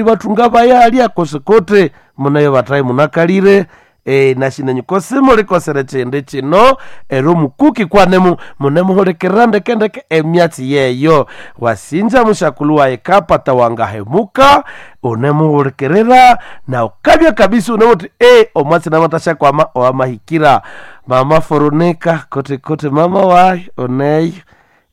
Ibathunga bayalya kosikote munayo bathayi munakalire nashinenyu kosimulikosere chindi chino ero mukuki kwanemu munemuhulikirira ndekendeke emyatsi yeyo. Wasinja mushakulu waye kapata wangahemuka unemuhulikirira na ukabya kabisa unewuthi omwatsi namatashakwama owamahikira. Mama Forunika kote kote mama wayi oneyo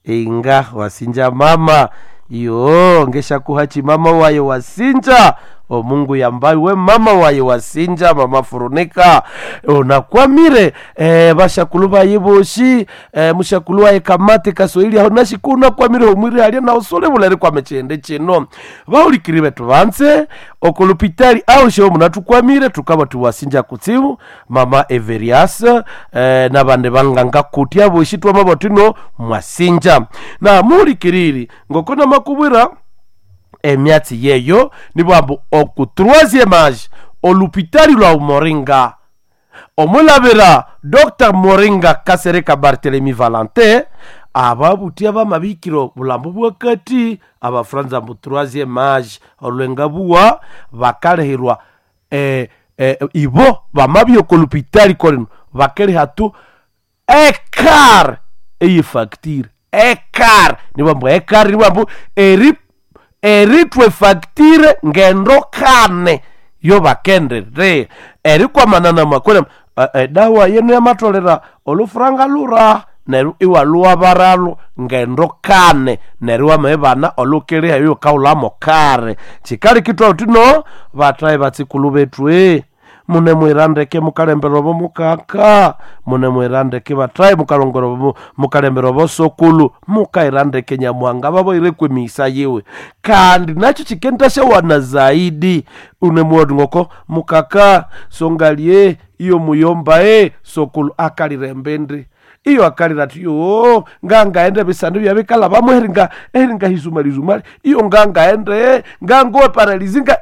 inga wasinja mama yo ngeshakuhachi mama waye wasinja omungu yambayi we mama waye wasinja mama Furunika unakwamire bashakulu baye boshi mushakulu waye kamati kaswahili aho nashiku unakwamire omwiri alya na usule bulere kwame chende chino bahulikiri betu banse okulupitali aho sheho munatukwamire tukaba tuwasinja kutsibu mama Everias nabandi banganga kutya boshi twamabotino mwasinja na muhulikiriri ngoko namakubwira emyatsi yeyo nibwambu oku troisième age olupitali lwa Moringa omulabira Dr Moringa Kasereka Barthelemy Valentin ababutia bamabikiro bulambo bwakati abafranza mbu troisième age olwenga buwa bakalehirwa ibo bamabya okolupitali kolino bakeleha tu ekar eyefacture ekar nibwambu ekar nibwambu eri eritwe facture ngendo kane yo bakendere erikwamanana makwele edawa yenu yamatolera olufuranga lura neru iwaluwabaralo ngendo kane neru wamebana olukiliha iyo kaulamo kare chikali kitwa utino bataye batsikulu bethu mune mwirandeke mukalembera obo mukaka mune mwirandeke bataye mukalongora obo mukalembera obo sokulu mukairandeke nyamuhanga baboire kwemisa yiwe kandi nacho chikentashawana zaidi une mwodingoko mukaka songalie iyo muyomba sokulu akalirembendi iyo akalira ati yo ngangaende bisandu byabikala bamwe eringa hizumalizumali iyo ngangaende ngangowe paralizinga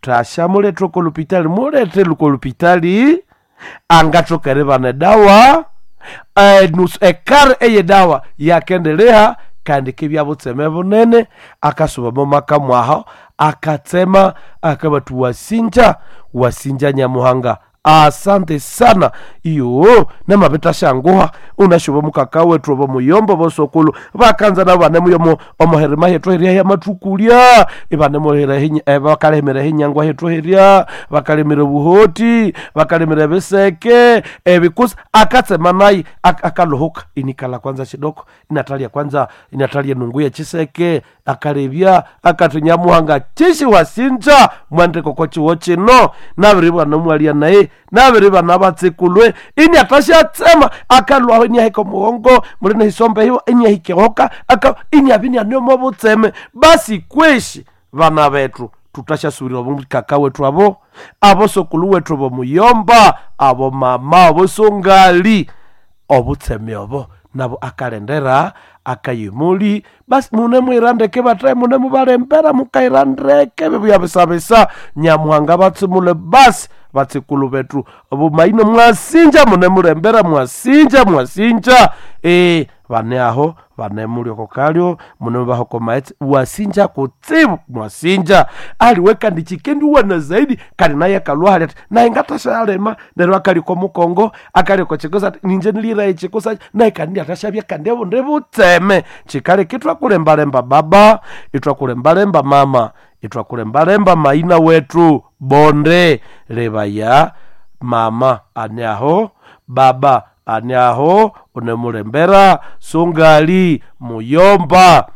tasha muletwe kolupitali mulete lukolupitali angathokere bana dawa nusu ekar eye dawa yakendeleha kandi kibya butseme bunene akasuba mumaka mwaho akatsema akabatu wasinja wasinja nyamuhanga asante sana iyo namabitashanguha unashuba mukaka wetu obo muyombo bosokulu bakanza nabo banemuyomo omuherema hethu herya yamathukulya ibanemuhera bakalihimira hinyangwa hethu herya bakalimira buhoti bakalimira ebiseke ebikusa akatsema naye akaluhuka inikala kwanza shidoko inatalia kwanza inatalia nungu ya chiseke akalebya akati nyamuhanga chishi wasinja mwandiko kwa chiwo chino nabiribwa nomwalia naye nabiribwa nabatsikulwe ini atashatsema akalwaho ini ahika mugongo muli nehisombe hiwo ini ahikehoka aka ini abini aniomo butseme basi kweshi vana bethu tutashasubirira omukaka wethu abo abosokulu wethu bomuyomba abo mama abosongali obutseme obo nabo akalendera akayimuli basi mune mwirandeke bataye mune mubalembera mukairandeke bibuyabisabisa nyamuhanga batsimule basi batsikulu bethu bumaino mwasinja mune mulembera mwasinja mwasinja bane aho bane mulioko kalyo mune mubahoko maetsi wasinja kutsibu mwasinja aliwe kandi chikendi wana zaidi kandi naye akalwa ati naye ngatashalema neryo akaliko mukongo akaliko chikosa ati ninje niliraye chikosa naye kandi atashabya kandi abunde butseme chikali kitwakulembalemba baba itwakulembalemba mama itwakulembalemba maina wetu bonde lebaya mama ane aho baba ane aho unemulembera sungali muyomba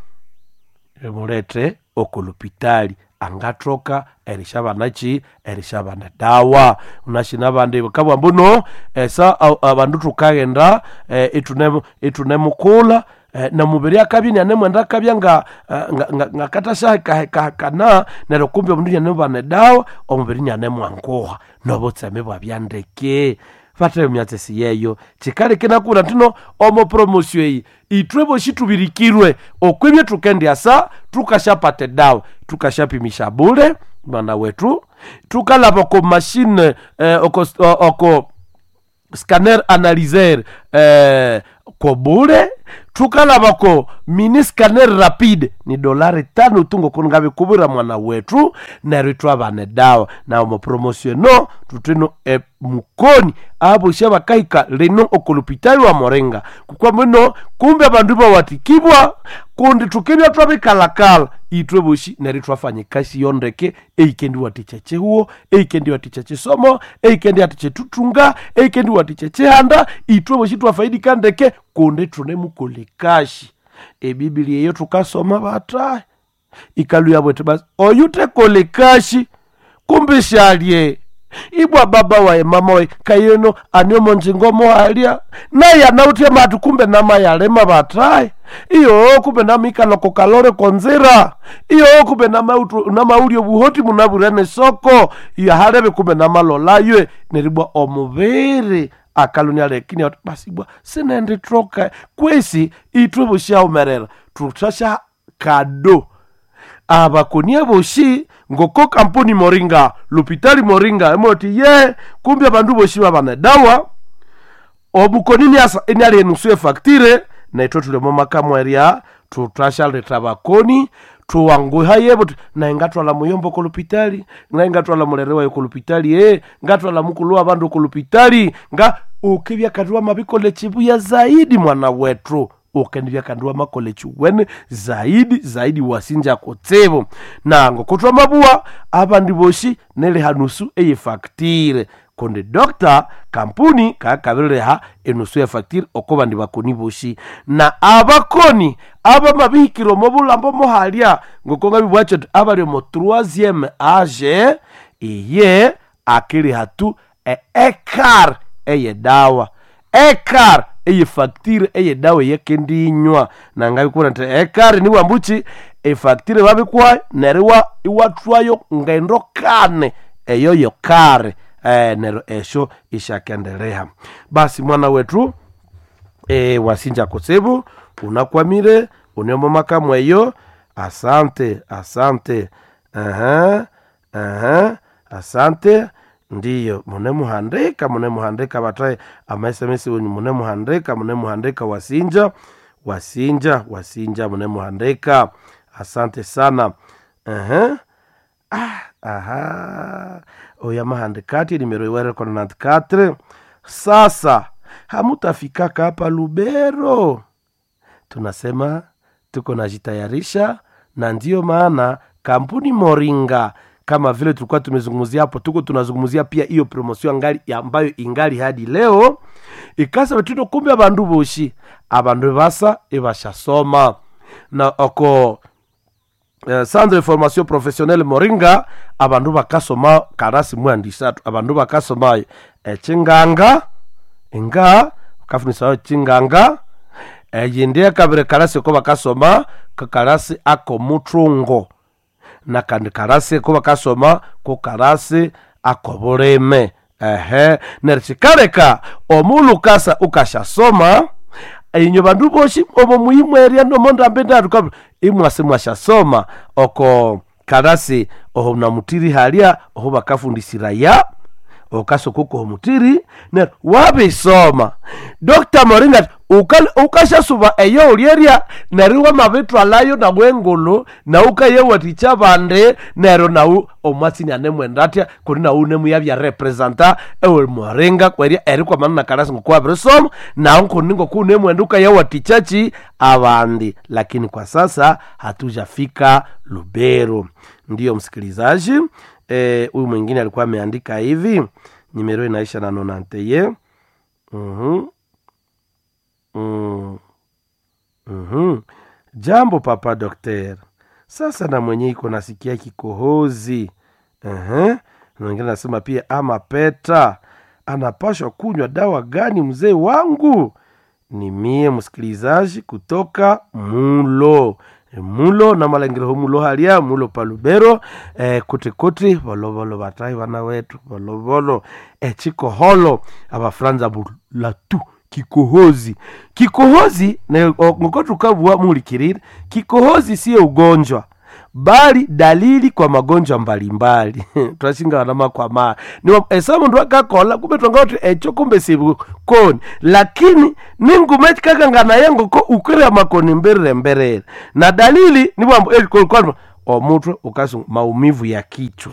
emulete okulupitali angathoka erishabanachi erishabana dawa unashina bandi kabwa mbuno esa abandu tukaghenda itunemukula namubiri akabya nianemwenda akabya nga ngakathashahikahikahikana neryo kumbi omundu nianemubana edawa omubiri nianemwanguha nobutseme bwabya ndeke vathayo myatsi yeyo chikali kinakura ntino omo promosio eyi ithwe boshi tubirikirwe okwibye tukendyasa tukashapata edawa tukashapimisha bule mwana wetu tukalaba oko mashine oko scanner analyser Kobule tukalabako mini scanner rapide ni dolari 5 tungo kuningabikubwira mwana wetu neryo itwabana edawa na omo promotion tutino e mukoni abosi abakahika lino okolopitali wa Moringa kukwa muno kumbe abandu bawatikibwa kundi tukibya twabikalakala itwe bosi neryo twafanya ekasi yondeke eikendi watikya chihuo, eikendi watikya chisomo, eikendi watikya tutunga, eikendi watikya chihanda, itwe bosi twafaidika ndeke kundi tunemukola ekashi. Ebiblia eyo tukasoma batayi ikaluya bwete basi oyu tekola ekashi kumbe shalye ibwa baba waye mama waye kayeno aniomo njingomo alya naye anautie matu kumbe namayalema batayi iyo kumbe namikaloko kalore konzira iyo kumbe namaulyo buhoti munabwire soko iyo halebe kumbe namalolaye neribwa omubiri akalunia lekini ati basi bwa sinenditroka kwesi itwe bushaumerera tutasha kado abakonia boshi ngoko kampuni Moringa lupitali Moringa emoti ye kumbe abandu boshi babana dawa obukonini asa eniali enusu efaktire naitwe tuli omo makamwerya tutashaleta bakoni tuwanguhaye buti naye ngatwala muyombo kolupitali naye ngatwala mulere wayo kolupitali ngatwala mukulu wa bandu kolupitali nga ukibya kandiwa mabikole chibuya zaidi mwana wetu ukendibya kandiwa makole chiwene zaidi zaidi wasinja kutsibu nango kutwa mabuwa abandi boshi neliha nusu eyefaktire kundi dokta kampuni kakabirireha enusu ya faktire oko bandi bakoni boshi na abakoni abamabihikire omo bulambo mohalya ngoko ngabibwacho ati abali omo troisieme age iye akiriha tu eekar eyedawa ekar eyefaktire eyedawa eyekendinywa nangabikubona nti ekar niwambuchi efaktire babikwayo neryo iwathwayo ngendo kane eyo yokare nero esho ishakendelea. Basi mwana wetu wasinja kutsibu unakwamire uniomo makamu eyo. Asante, asante. Aha, aha, asante. Ndiyo munemuhandika, munemuhandika bataye ama-sms wenyu munemuhandika, munemuhandika wasinja, wasinja, wasinja munemuhandika. Asante sana. Aha. Ah, aha oya mahandikati nimero iwere kona 94 sasa hamutafikaka hapa Lubero. Tunasema tuko najitayarisha, na ndiyo maana kampuni Moringa kama vile tulikuwa tumezungumzia hapo, tuko tunazungumzia pia hiyo promotion ngali ambayo ingali hadi leo ikasa betino kumbe abandu boshi abandu basa ibashasoma na oko centre de formation professionnelle Moringa abandu bakasoma karasi mwandisatu abandu bakasoma echinganga nga bakafunisa chinganga eyindi ekabiri karasi ko bakasoma kakarasi akomuthungo na kandi karasi ko bakasoma ko karasi akobulime ehe neryo kikaleka omulhu ukasa ukashasoma inyo bandu boshi omo muhimu eria nomo ndambi ndatu imwasi mwashasoma oko karasi oho namutiri halya oho bakafundisiraya okasoko mutiri neryo wabisoma Dr. Moringa ukashasuba eyo ulyeria neryo wamabithwalayo nawe engulu nawu ukayewathikya bandi neryo nawu omwatsi anemwenda atya kundi nawu unemuyabya representa ewe Moringa kwerya erikwamana na karasi ngoku wabirisoma nawu kundi ngoku unemwenda ukayewathikyachi abandi. Lakini kwa sasa hatujafika Lubero. Ndiyo msikilizaji, huyu mwingine alikuwa ameandika hivi, nimero inaisha na nonanteye. Jambo papa dokter, sasa na mwenye iko nasikia kikohozi. Mwingine anasema pia ama peta anapashwa kunywa dawa gani mzee wangu? Ni mie msikilizaji kutoka Mulo mulo na malengereho mulo halia mulo palubero kuti kuti volovolo vatai vana wetu volovolo chikoholo abafranza bulatu kikohozi kikohozi ngoko tukabua mulikirire kikohozi siye ugonjwa. bali dalili kwa magonjwa mbalimbali. Twashinga makwama ni esa mundu akakola kumbe twangati echo kumbe sibukoni, lakini ningume chikakangana yengoko ukwira makoni mbirire mbirire na dalili ni bwambo elikolkwalwa omutwe ukasunga maumivu ya kichwa,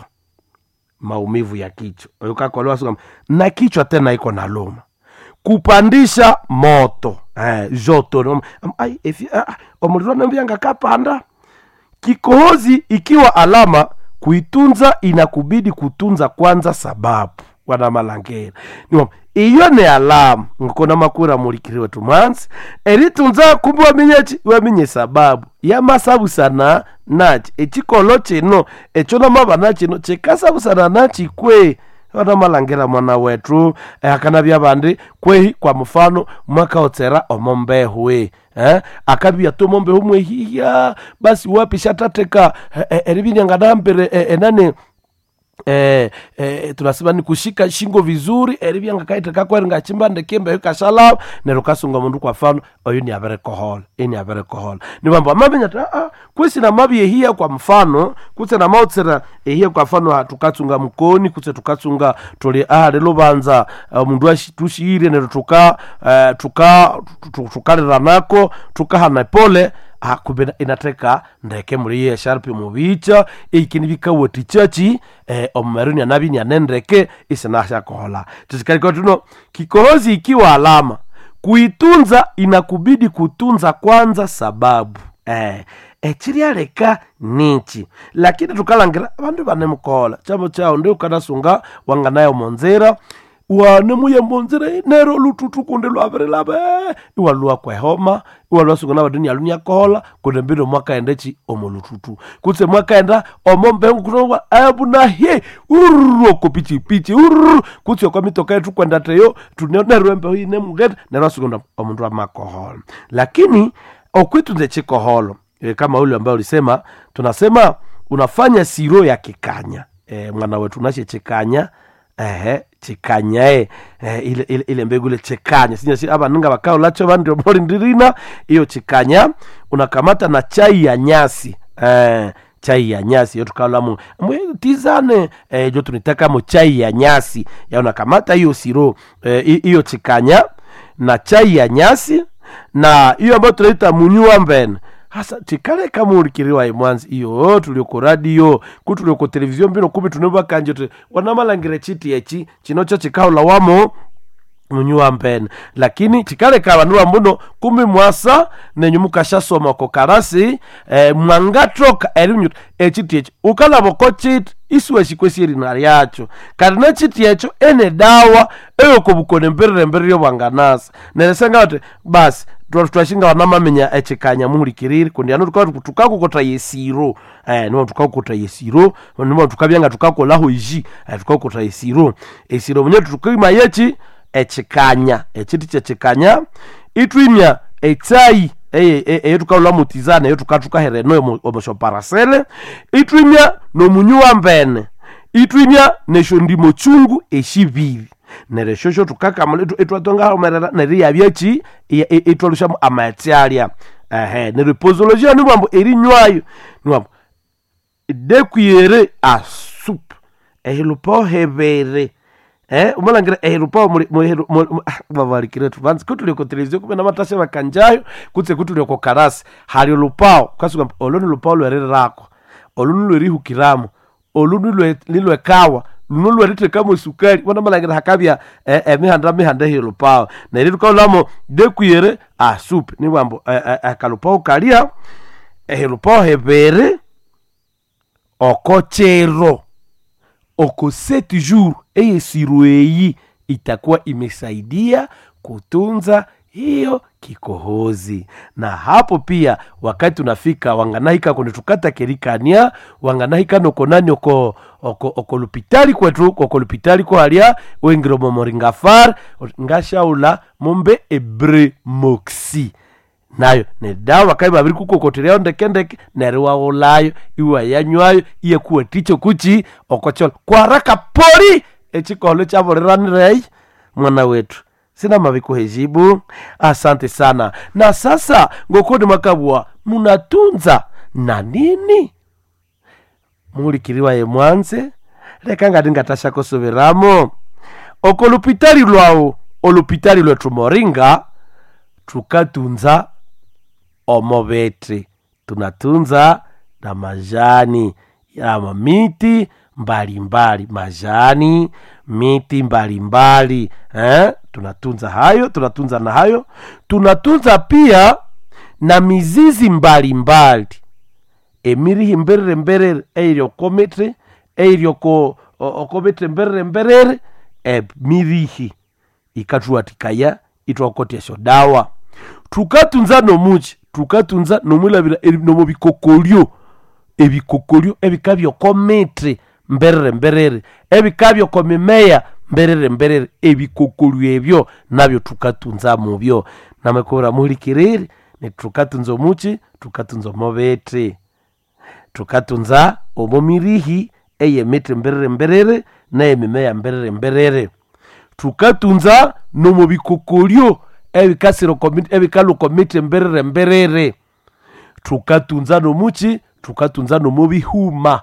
maumivu ya kichwa ukakolewa sunga na kichwa tena iko na luma, kupandisha moto joto ai efi omuliro nambyanga kapanda. Kikohozi ikiwa alama, kuitunza inakubidi kutunza kwanza sababu wana malangera niwa iyo ni alama ngokona makura mulikiriwe tumanzi eritunza kumbe wamenyechi wamenye sababu yamasabusana nachi echikolo chino echo namabana chino chikasabusana nachi kwe wana malangera mwana wetu akanabya bandi kwehi kwa mfano mwakaotsera omombehwe akabya tomombehu mwehiya basi wapi shatateka eribinyanganambere enani tunasema ni kushika shingo vizuri eribyanga kaiteka kweri ngachimba ndekembe kashala nero kasunga mundu kwa mfano oyo ni abere kohola ini abere kohola ni bambo amamenya ta a kwisi na mabi ehia kwa mfano kutse na mautsera ehia kwa mfano tukatsunga mkoni kutse tukatsunga tuli lelo banza mundu tushiire nero tuka tuka tukaliranako tukahana pole kumbe inateka ndeke muri ye sharp mubicha ikini bikawati chachi omumeruni anabi nyanendeke isinasha kohola tusikariko tuno kikohozi ikiwa alama kuitunza inakubidi kutunza kwanza sababu echiryaleka nichi lakini tukalangira abandu banemukola chamo chao ndi ukanasunga wanganayo monzera wane muye monzera nero lututu kundi lwabirilaba iwalua kwehoma iwalua sunga nabandu nialunia kohola kundi mbino mwakaenda chi omo lututu kutse mwakaenda omo mbengu kunowa abunahe ururu oko pichipichi ururu kutse okwa mitoka yetu kwenda teyo tunerwe embeho ine mugete nero asunga omundu amakohola lakini okwitunze chikoholo kama ule ambaye ulisema tunasema unafanya siro ya kikanya mwana wetu unashe chikanya chikanya ile, ile, ile mbegu ile chikanya sinya si aba ninga bakao lacho bandio mori ndirina iyo chikanya unakamata na chai ya nyasi chai ya nyasi yotukalamu tizane jo tunitaka mo chai ya nyasi ya unakamata hiyo siro hiyo chikanya na chai ya nyasi na hiyo ambayo tunaita munyua mbene hasa chikale kamuulikiriwa imwanzi iyo tulioko radio kutulioko televizio mbino kumi tunebakanje tu wanamalangire chiti echi chino cho chikaula wamo munyuwa mpene lakini chikale kabandu mbuno kumi mwasa nenyu mukashasoma ko karasi mwangatoka erinyu echiti echi ukalaboko chiti isuwe chikwesi erina lyacho kati nechiti echo ene dawa eyokobukone mbirire mbirire bwanganasa neresenga kuti basi twashinga wanamamenya echikanya muhulikiriri kundi ano tukakukota yesiro niwo tukakukota yesiro niwo tukabyanga tukakolaho iji tukakukota yesiro esiro munye tukima yechi echikanya echiti chechikanya itwimya echai eyo tukaula mutizana eyo tukatukahere noyo omoshoparasele itwimya nomunyuwa mbene itwimya neshondimo chungu eshibiri neryo shosho tukakamula itwatongahomerera neryo iyabyachi itwalushamu amaghetse alya neryo posologia niwambo erinywayo niwambo dekuyere asupu ehilupo hebere umalangira ehilupo vavalikire tuvanzi kutulioko televizio kumbe namatasha vakanjayo kutse kutulioko karasi hali lupao kasuka olu ni lupao lwerirako olu ni lwerihukiramo olu ni lwekawa luno lwerithekamo sukari wanamalangire hakabya emihanda mihanda ehiyo lupao neryo tukaulamo dekuyere asupu niwambo akalupao kalya ehilupao hebere okochero oko 7 jours eyesiro eyi itakuwa imesaidia kutunza hiyo kikohozi. Na hapo pia wakati unafika wanganahika kundi tukata kerikania wanganahika nokonani oko oko oko lupitali kwetu oko lupitali ko halia wengiro momoringafar ngashaula mumbe ebremoxi nayo ne dawa kai babiri kukokotereo ndekendeke neryo waulayo iwa yanywayo iyekuwa ticho kuchi okochola kwa haraka pori echikolo chaboleranirei mwana wetu sina mavikuhejibu asante sana. Na sasa ngokoni mwakabwa munatunza na nini? Muhulikiri waye mwanze, leka ngati ngatashakusubiramo. Oko lupitali lwawu, olupitali lwetu Moringa, tukatunza omobete, tunatunza na majani ama miti mbalimbali, majani miti mbalimbali eh? Tunatunza hayo, tunatunza na hayo, tunatunza pia na mizizi mbalimbali emirihi mberere mberere eiri okomithi eiri oko okomithi mberere mberere, emirihi ikathuwathikaya ithwakotya esyodawa. Thukatunza nomuki? Thukatunza nomwilhabira nomubikokolyo, ebikokolyo ebikabya okomithi mberere mberere, ebikabya oko mimeya mberere mberere, ebikokolyo ebyo nabyo thukatunza mubyo. Namakubwira muhulikiriri, nithukatunza omuki? Thukatunza omobithi, thukatunza omo mirihi eyemithi mberere mberere neyemimeya mberere mberere. Thukatunza nomo bikokolyo ebikasira ebikalhwa oko mithi mberere mberere. Thukatunza nomuki? Thukatunza nomo bihuma,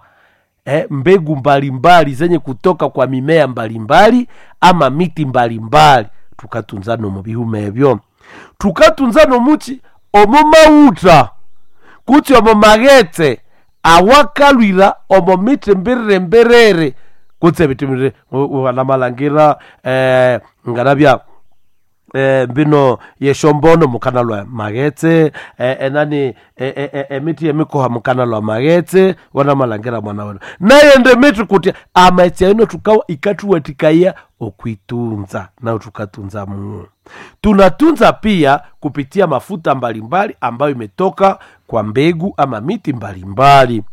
mbegu mbalimbali zenye kutoka kwa mimea mbalimbali ama miti mbalimbali, thukatunza nomo bihuma ebyo. Thukatunza nomuki? Omo maghutha kutse omo maghetse awakalhwira omo mithi mberere mberere kutse ebithi mbirire wanamalhangira, nganabya mbino yeshombono mukanalwa maghetse, enani emiti yemikoha mukanalwa maghetse, wanamalhangira mwana wenu nayende mithi kutya amaghetse ayo thukawa ikathuwathikaya okwitunza, nayo thukatunza muo. Tunatunza pia kupitia mafuta mbalimbali ambayo imetoka kwa mbegu ama miti mbalimbali.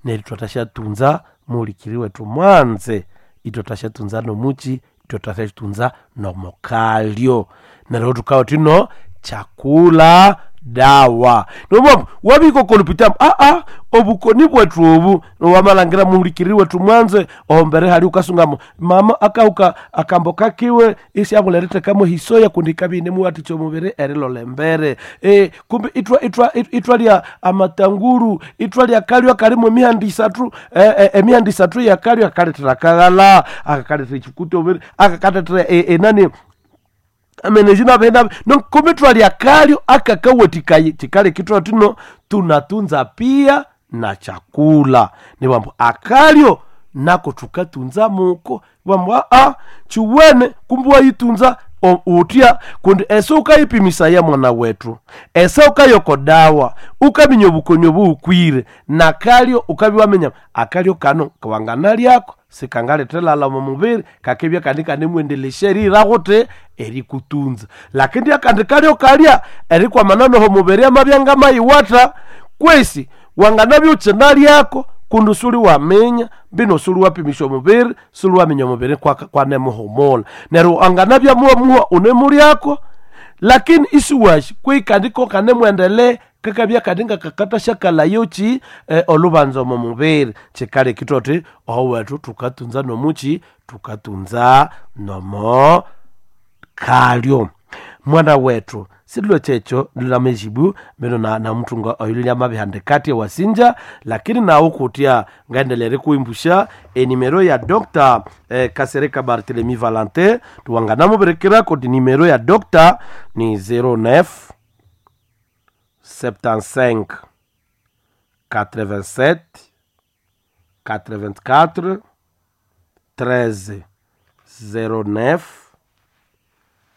Neryo thwathasyatunza muhulikiri wetu mwanze, ithwathasyatunza nomuki? Ithwathasyatunza nomukalyo. Neryo thukawa thino chakula dawa. Nomwambu wabika okolupitamu aa obukoni bwethu obu wamalhangira muhulikiriri wetu mwanze, ohombere hali ukasungamo mama akahuka akambo kakiwe isyabula erithekamu hisoya kundi ikabya inemuwathikya omubiri erilolha embere. Kumbe ithwalya amatanguru, ithwalya akalyo akalimu emihanda isathu, emihanda isathu eyakalyo akalethera akaghalha, akakalethera ekikuta omubiri, akakalethera enani ameneji nabe no kumbe twalya akalyo akakawathikaya kikaleka ithwabugha thino tunatunza pia na chakula. Nibwambu akalyo nako thukatunza muko, ibwambu aa kiwene kumbe wayitunza utya kundi ese wukayipimisaya mwana wethu, ese wukaya oko dawa, ukaminya obukoni obuwukwire, nakalyo ukabya waminya akalyo kano wanganalyako sikangalethera lhalha omo mubiri, kakibya kandi ikanemwendelesya eriyira ghuthi erikutunza. Lakini akandi kalyo kalya erikwamana noho mubiri amabya ngamayiwatha, kwesi wanganabya ukyinalyako kundi suliwaminya mbino suliwapimisya omubiri, suliwaminya omubiri kwanemuhumulha. Neryo anganabya muwamuha unemulyako lakini isiwasi kweyi kandi ko kanemwendelea kakabya kandi ngakakathasyakalhayoki olhubanza omo mubiri. Kikaleka ithwathuthi oho wethu thukatunza nomuki? Thukatunza nomo kalyo. Mwana wethu silhwe kyekyo lhunamejibu mbino namuthunga oyulya amabihandika ewasinja, lakini nawu kutya ngaendelea erikuwimbusya enimero ya Dr. Kasereka Barthelemy Valentin, tuwanganamubirikira koti nimero ya Dr. ni 09 75 87 84 13 09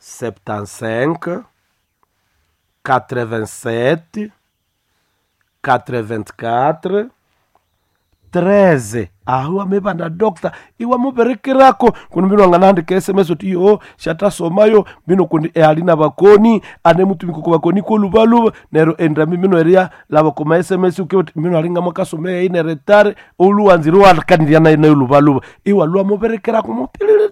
75 87 84 13. Aho amebana doctor iwamubirikirako kundi mbino anganahandika sms uti iyo syathasomayo mbino kundi ali nabakoni anemutumika oko bakoni kolubaluba neryo endambi mbino eria laba okoma sms uke uti mbino alinga mwakasoma eyi neretare olhuwanzire iwakanirya nayo nayo lubaluba iwalwa mubirikirako mupilile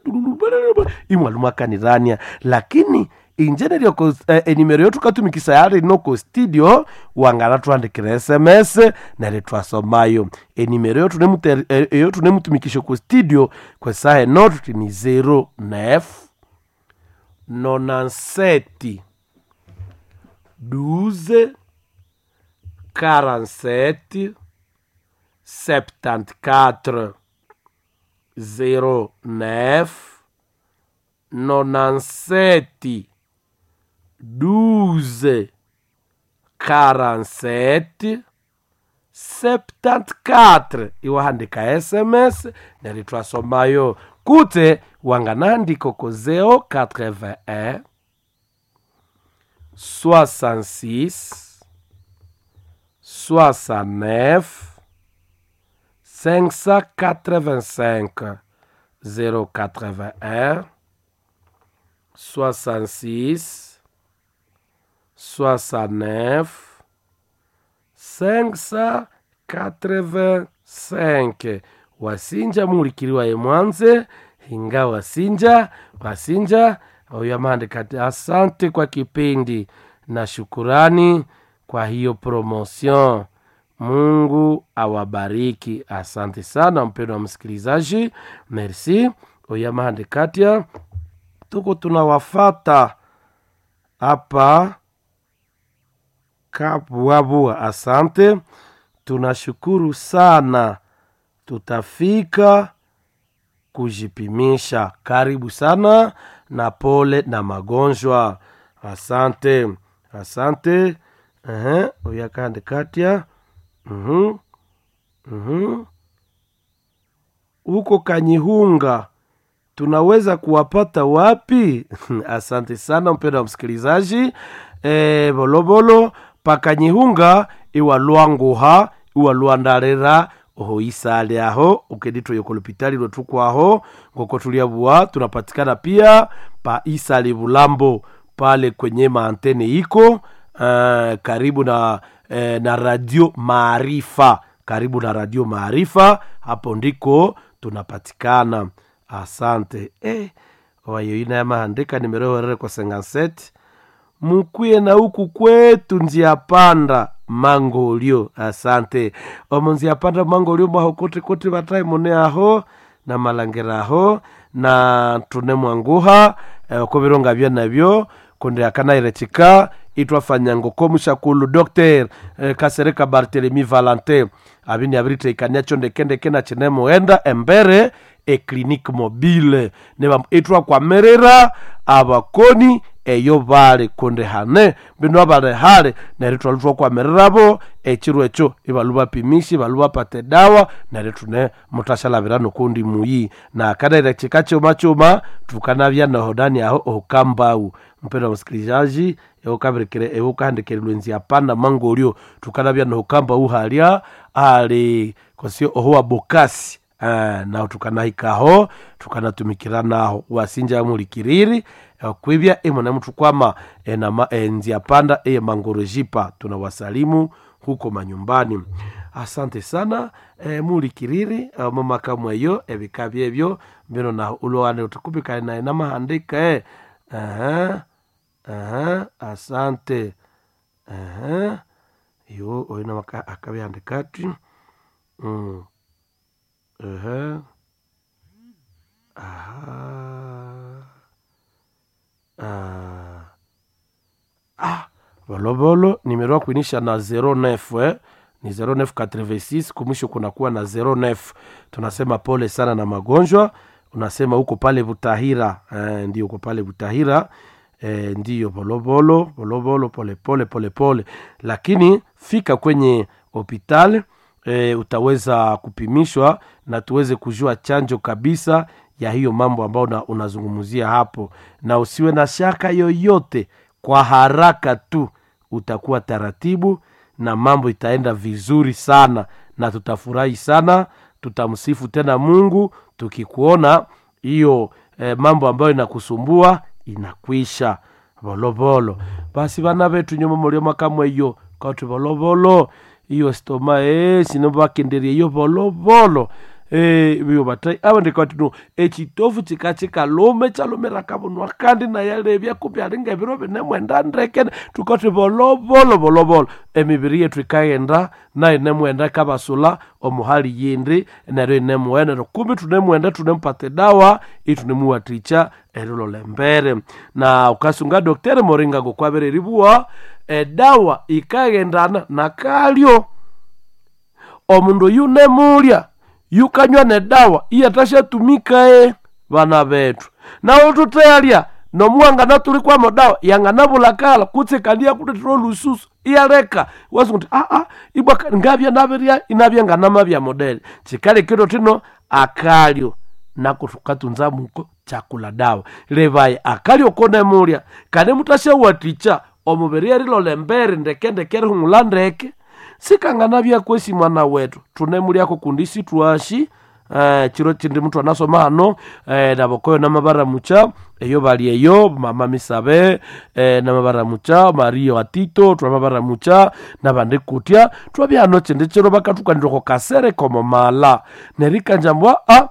imwalwa mwakanirania. Lakini inje neryo enimero yothukatumikisaya yalino ko studio wanganathuhandikira sms neryo thwasomayo. Enimero eyothunemutumikisya oko studio kwesaha eno thuthi ni 09 97 12 47. 74 09 97 12 47 74. Iwahandika SMS neryo twasomayo kutse wanganahandika ko 081 66 69 585. 081 66 69 585. Wasinja mulikiriwa emwanze hinga wasinja wasinja oyo amaandika ati asante kwa kipindi na shukurani kwa hiyo promotion. Mungu awabariki. Asante sana mpendwa msikilizaji, merci. Oyo amaandika atia tuko tunawafata hapa Kabwabwa. Asante, tunashukuru sana, tutafika kujipimisha. Karibu sana na pole na magonjwa. Asante, asante. Ehe, uyakandi katia. Huko Kanyihunga tunaweza kuwapata wapi? Asante sana mpendwa wa msikilizaji. Bolobolo pakanyihunga iwa lwanguha iwa lwandarera oho isale aho ukeditwa yokolopitali lwetukwaho ngoko tuliabua tunapatikana pia pa isale Bulambo pale kwenye maantene iko karibu na, na radio Maarifa, karibu na radio Maarifa, hapo ndiko tunapatikana. Asante. Wayo ina yamahandika nimero kwa 57 mukwiye na huku kwetu nzia panda mangolio. Asante omo nzia panda mangolio mwaho kuti kuti vatai mune aho na malangira aho na tune mwanguha okovironga vya navyo kundi akanaire chika itwafanya ngoko mushakulu Dr. Kasereka Barthelemy Valentin abini abiriteikania cho ndekendeke na chinemuenda embere eclinique mobile neba itwakwamerera abakoni eyo bali kundi hane bino abali hale neryo twali twakwamererabo ekiro ekyo ibalu bapimishi ibalu bapata edawa neryo tune mutashalabira nokundi muyi na kanaire chika chuma chuma tukanabya nohodani aho okambau. Mpendwa msikilizaji, eukabirekere eukahandikirirwe nzia panda mangolio tukanabya nohokambau halya ali kosio ohuwa bokasi. Naho tukanahikaho tukanatumikira naho wasinja mulikiriri kwibya imwe mutukwama nzia panda eye mangorojipa tunawasalimu huko manyumbani. Asante sana mulikiriri mama eyo ebika byebyo mbino naho ulwane utukupikane naye namahandika. Asante. Yo oyo namaka akabyandika ati Bolobolo nimero ya kuinisha na 09 ni 0986 kumwisho kunakuwa na 09. Tunasema pole sana na magonjwa. Unasema huko pale Butahira, ndio uko pale Butahira, ndiyo bolobolo bolobolo pole pole pole pole, lakini fika kwenye hospitali utaweza kupimishwa na tuweze kujua chanjo kabisa ya hiyo mambo ambayo unazungumzia hapo, na usiwe na shaka yoyote. Kwa haraka tu utakuwa taratibu na mambo itaenda vizuri sana, na tutafurahi sana, tutamsifu tena Mungu tukikuona hiyo mambo ambayo inakusumbua inakwisha. Bolobolo basi vana vetu nyuma mulio makamwe iyo kauti bolobolo iyo stoma sinovakenderie iyo bolobolo biyo batai aba ndikati no ekitofu chikachikalome chalomera kabunwa kandi nayalebya kumbi alinga ebiro binemwenda ndeke tukati bolobolo bolobolo emibiri yetu ikaghenda nayo nemwenda ikabasula omuhali yindi neryo inemwenda neryo kumbi tunemwenda tunemupata edawa itunemuwathikya erilola embere. Na ukasunga Dr. Moringa ngokwabere eribuwa edawa ikaghendana nakalyo. Omundu oyu nemulya yukanywa nedawa iyatashatumikae vana bethu. Nawo tuteyalya nomuwangana tuli kwamo dawa yanganabulakala kutse kandi yakuletera olususu iyaleka wasungu uti aa ibwa ngabya nabirya inabya nganamabya modele. Chikalekero tino akalyo nako tukatunza muko chakula dawa. Levaye akalyo konemulya kane mutashawatikya omubiri erilola embere ndekendeke erihumula ndeke. Sikanganabya kwesi mwana wetu tunemulyako kundi sitwashi. Chiro chindi mtu anasoma hano nabokoyo namabaramucha eyo bali eyo mama misabe namabaramucha Mario atito twamabaramucha nabandi kutya twabya hano chindi chiro bakatukanirako kasere komo mala nerikanjambwa a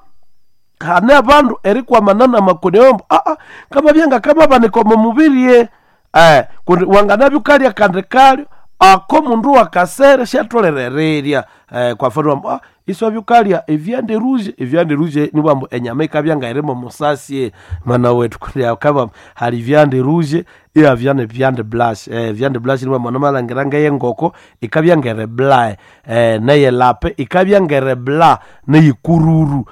hane abandu erikwamana namakoni ombo aa kama byanga kama banikomo mubirie kundi wanganabyukalya kandi kalyo ako mundu wakasere syatholerererya kwa mfano wambu iswabyukalya evyande rouge. Evyande rouge niwambu enyama ikabya ngairimo musasye mwana wetu kundi akaba hali vyande rouge iya vyande vyande blush vyande blush niwambu namalhangira ngeyengoko ikabya ngere bla neye lape ikabya ngere bla neyikururu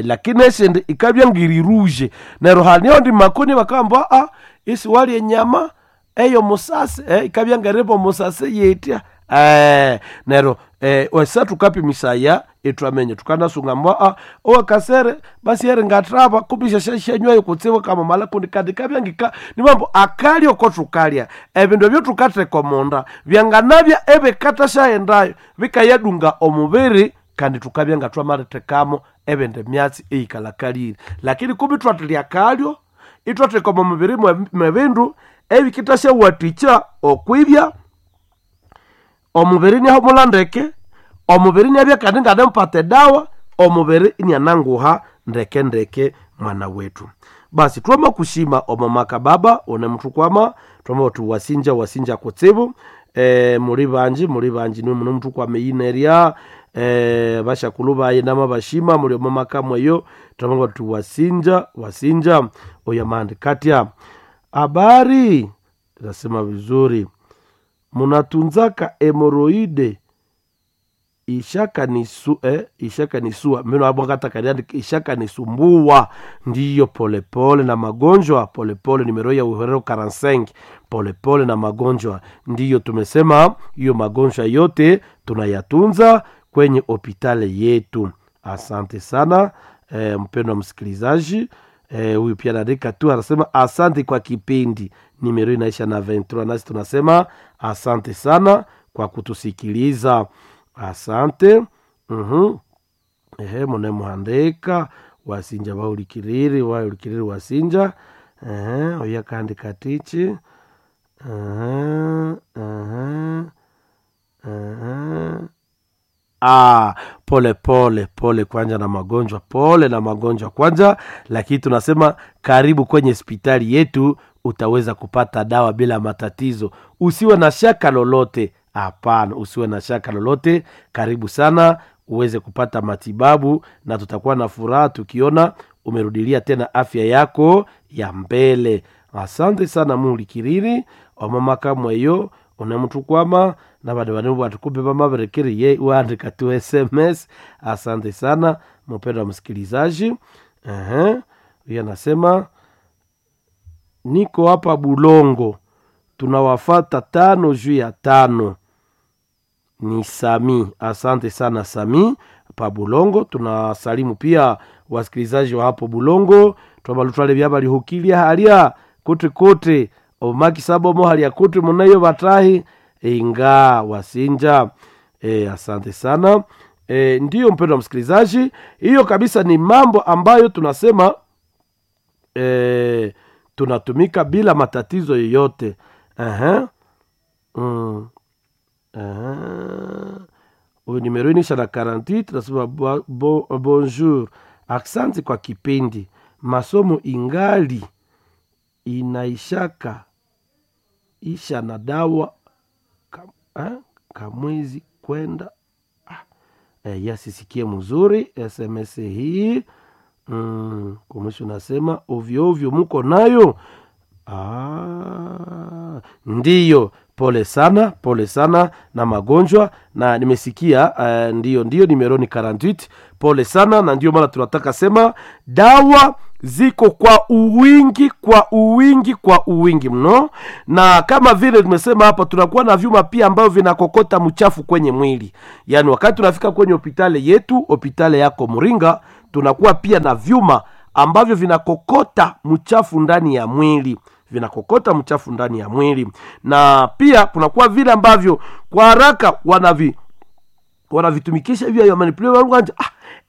lakini esindi ikabya ngiri rouge. Neryo hali ondi makoni bakamba a isiwalya enyama eyo musasi ikabya ngeribo musasi yetya neryo wesa tukapimisaya itwamenye tukanasunga mbwa a owakasere basi eri ngatraba kumbisha shashanywayo kutsibu kamamala kundi kandi kabya ngika nimambo akalyo ko tukalya ebindu ebyo tukatheka omunda byanganabya ebikatashayendayo bikayadunga omubiri kandi tukabya nga twamalithekamo ebindi myatsi eyikalakalire. Lakini kumbi twathilya akalyo itwatheka omo mubiri mwebindu ebikitashawathikya okwibya omubiri inihumula ndeke, omubiri inabya kandi nganamupata edawa, omubiri iniananguha ndeke ndeke mwana wetu. Basi twamakushima omo maka baba one muthukwama twamauthi wasinja wasinja kutsibu muli banji niwe muno muthukwama eyinerya bashakulhu bayi namabashima muli omo maka mweyo twamauthi wasinja wasinja. Oyo amandi katya habari nasema vizuri munatunzaka hemoroide ishakanisua mino abwakatakaliandika ishakanisumbua ndiyo polepole na magonjwa polepole nimero ya uhorero 45 polepole na magonjwa ndiyo tumesema hiyo magonjwa yote tunayatunza kwenye hopitali yetu. Asante sana mpendwa msikilizaji. Huyu pia anaandika tu anasema asante kwa kipindi. Nimero inaisha na 23 nasi tunasema asante sana kwa kutusikiliza. Asante. Ehe mune muhandika wasinja waulikiriri waulikiriri wasinja. Ehe oya kandi katichi. Pole pole pole kwanja na magonjwa, pole na magonjwa kwanja, lakini tunasema karibu kwenye hospitali yetu utaweza kupata dawa bila matatizo. Usiwe na shaka lolote. Hapana, usiwe na shaka lolote. Karibu sana uweze kupata matibabu na tutakuwa na furaha tukiona umerudilia tena afya yako ya mbele. Asante sana mulikiriri omamaka mweyo unemuthukwama nabandu bane batukumbe bamaberekeriye uandika tu SMS. Asante sana mpendwa msikilizaji. Huyu anasema niko hapa Bulongo tunawafata 5:05. Ni Sami. Asante sana Sami pa Bulongo. Tunasalimu pia wasikilizaji wa hapo Bulongo. Twabalutwale byabalihukilia halia kote kote omaki sabomo halia kote munayo batahi inga wasinja. Asante sana. Ndiyo mpendwa msikilizaji, hiyo kabisa ni mambo ambayo tunasema tunatumika bila matatizo yoyote. Huyu nimero inaisha na 48 tunasema bonjour. Asante kwa kipindi. Masomo ingali inaishaka isha na dawa kamwezi kwenda. Yasisikie mzuri SMS hii. Kwa mwisho nasema ovyo ovyo muko nayo. Ndiyo Pole sana, pole sana na magonjwa, na nimesikia ndiyo nimero ni 48. Pole sana, na ndio maana tunataka sema dawa ziko kwa uwingi, kwa uwingi, kwa uwingi mno, na kama vile tumesema hapa, tunakuwa na vyuma pia ambavyo vinakokota mchafu kwenye mwili. Yaani wakati tunafika kwenye hopitali yetu, hopitali yako Muringa, tunakuwa pia na vyuma ambavyo vinakokota mchafu ndani ya mwili, vinakokota mchafu ndani ya mwili, na pia kunakuwa vile ambavyo kwa haraka wanavitumikisha hivyo ya manipulate waluganja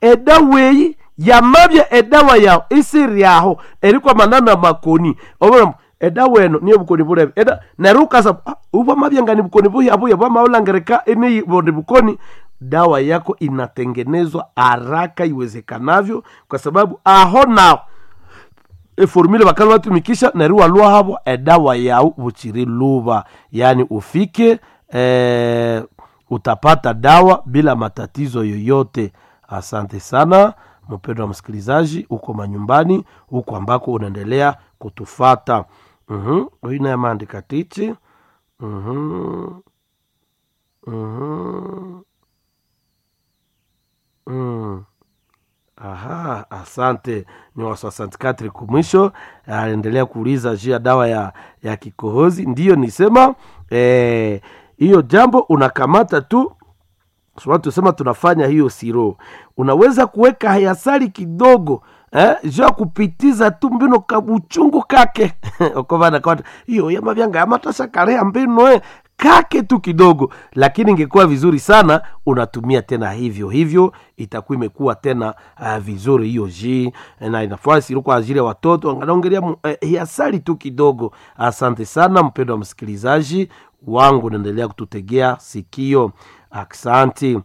edawa eyi yamabya edawa yawo isiri yaho erikwa manana makoni obona edawa eno niyo bukoni bulebe eda neryo ukasa ubwamabya ngani bukoni buya buya bwamaulangereka eniyi bondi bukoni. Dawa yako inatengenezwa haraka iwezekanavyo, kwa sababu aho nao eformule bakali batumikisha neryo walwa habo edawa yau buchiri luba, yaani ufike utapata dawa bila matatizo yoyote. Asante sana mpendwa wa msikilizaji, uko manyumbani huko ambako unaendelea kutufata. Huyu naye ameandika tichi. Aha, asante. Ni wa 64 kumwisho anaendelea kuuliza juu ya dawa ya kikohozi. Ndiyo nisema hiyo jambo unakamata tu tusema tunafanya hiyo siro, unaweza kuweka hayasali kidogo juu ya kupitiza tu mbino kabuchungu kake okovana kwa hiyo yamavyanga yamatasha karea mbino kake tu kidogo, lakini ingekuwa vizuri sana unatumia tena hivyo hivyo, itakuwa imekuwa tena vizuri hiyo ji na inafaa siro kwa ajili ya watoto, anaongelea hiasali tu kidogo. Asante sana mpendwa wa msikilizaji wangu, naendelea kututegea sikio. Aksanti.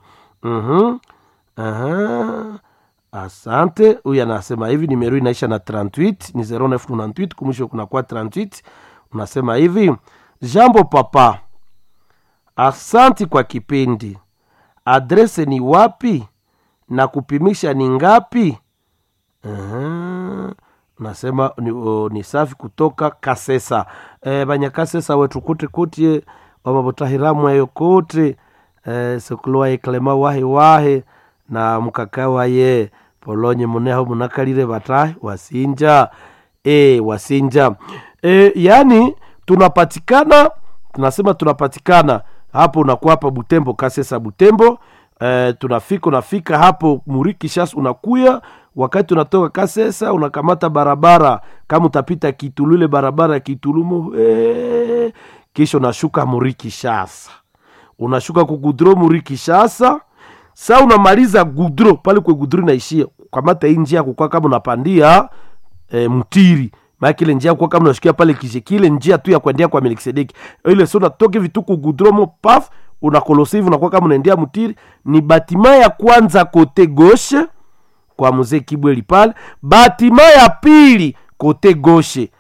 Asante. Huyu anasema hivi, nimero inaisha na 38 ni 0998 kumwisho kuna kwa 38. Unasema hivi, jambo papa, asanti kwa kipindi. Adrese ni wapi na kupimisha ni ngapi? Nasema ni safi kutoka Kasesa. Banyakasesa wetu kuti kuti wamabutahiramwe eyo kuti sukuluwa eklema wahe wahe na mukaka waye polonye muneho munakalire batahi wasinja wasinja yani tunapatikana, tunasema tunapatikana hapo, unakuwa hapa Butembo, Kasesa Butembo. Tunafika, unafika hapo Murikishas, unakuya wakati unatoka Kasesa unakamata barabara kama utapita Kitulu, ile barabara ya Kitulumo kisha unashuka Murikishasa, unashuka kugudro Murikishasa. Sa unamaliza gudro pale kwe gudro inaishia, kamata hii njia kukua kama unapandia mtiri maana ile njia kwa kama unashikia pale kije kile njia tu ya kuendea kwa Melkisedeki ile, sio unatoka hivi tu kugudro mo paf, unakolosi hivi unakuwa kama unaendea mtiri. Ni batima ya kwanza kote gauche kwa mzee Kibweli pale, batima ya pili kote gauche